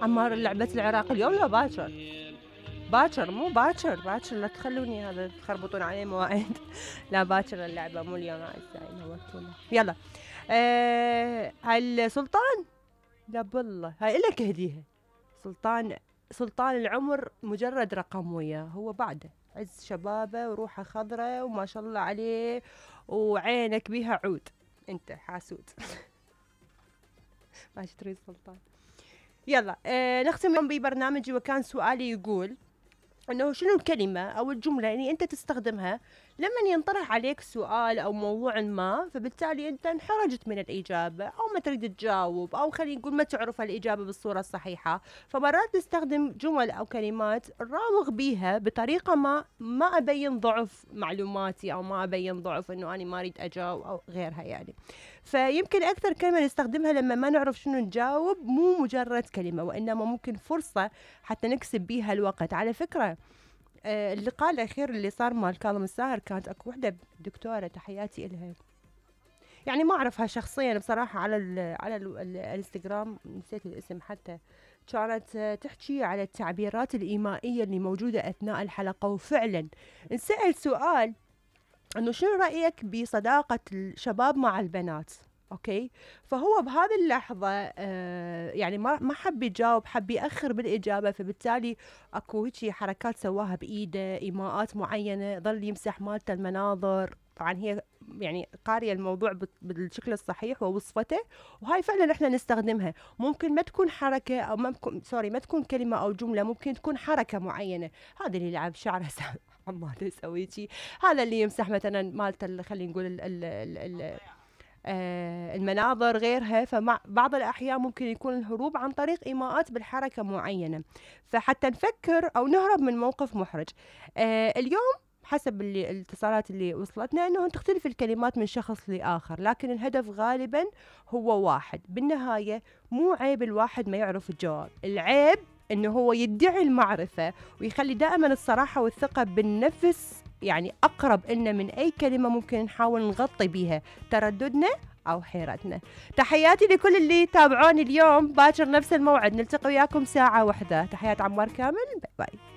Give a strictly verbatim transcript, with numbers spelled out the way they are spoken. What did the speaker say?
عمار لعبة العراق اليوم لا باكر؟ باكر مو باكر باكر لا تخلوني هذا تخربطون عليه مواعيد. لا باكر اللعبة مو اليوم اعزائي نورتونا. يلا أه هل سلطان؟ لا بالله هاي إلك هديها. سلطان سلطان العمر مجرد رقم وياه، هو بعده عز شبابه وروحه خضرة وما شاء الله عليه وعينك بيها عود. انت حاسود. ماشي تريد سلطان. يلا آه نختم ببرنامجي، وكان سؤالي يقول انه شنو الكلمة او الجملة اللي انت تستخدمها لما ينطرح عليك سؤال او موضوع ما، فبالتالي انت انحرجت من الاجابة او ما تريد تجاوب، او خلينا نقول ما تعرف الاجابة بالصورة الصحيحة، فمرات تستخدم جمل او كلمات راوغ بيها بطريقة ما ما ابين ضعف معلوماتي او ما ابين ضعف انه انا ما اريد اجاوب او غيرها يعني. فيمكن اكثر كلمة نستخدمها لما ما نعرف شنو نجاوب مو مجرد كلمة، وانما ممكن فرصة حتى نكسب بيها الوقت. على فكرة آه اللقاء الأخير اللي صار مال كاظم الساهر كانت أكو وحدة دكتورة تحياتي إلها، يعني ما أعرفها شخصيا بصراحة، على ال على ال الانستغرام نسيت الاسم حتى، كانت آه تحكي على التعبيرات الإيمائية اللي موجودة أثناء الحلقة. وفعلا نسأل سؤال أنه شنو رأيك بصداقة الشباب مع البنات؟ اوكي، فهو بهذه اللحظه آه يعني ما ما حب يجاوب، حب ياخر بالاجابه، فبالتالي اكو هيك حركات سواها بايده، ايماءات معينه، ظل يمسح مالته المناظر. طبعا هي يعني قاريه الموضوع بالشكل الصحيح ووصفته، وهاي فعلا احنا نستخدمها. ممكن ما تكون حركه او ما تكون سوري ما تكون كلمه او جمله، ممكن تكون حركه معينه. هذا اللي يلعب شعره عمال يسوي شيء، هذا اللي يمسح مثلا مالته خلينا نقول ال ال ال ال آه المناظر غيرها. فمع بعض الأحيان ممكن يكون الهروب عن طريق إيماءات بالحركة معينة، فحتى نفكر أو نهرب من موقف محرج. آه اليوم حسب اللي الاتصالات اللي وصلتنا أنه تختلف الكلمات من شخص لآخر، لكن الهدف غالبا هو واحد. بالنهاية مو عيب الواحد ما يعرف الجواب، العيب أنه هو يدعي المعرفة ويخلي دائما الصراحة والثقة بالنفس يعني أقرب إلنا من أي كلمة ممكن نحاول نغطي بيها ترددنا أو حيرتنا. تحياتي لكل اللي تابعوني اليوم، باكر نفس الموعد نلتقي وياكم ساعة واحدة. تحيات عمار كامل، باي باي.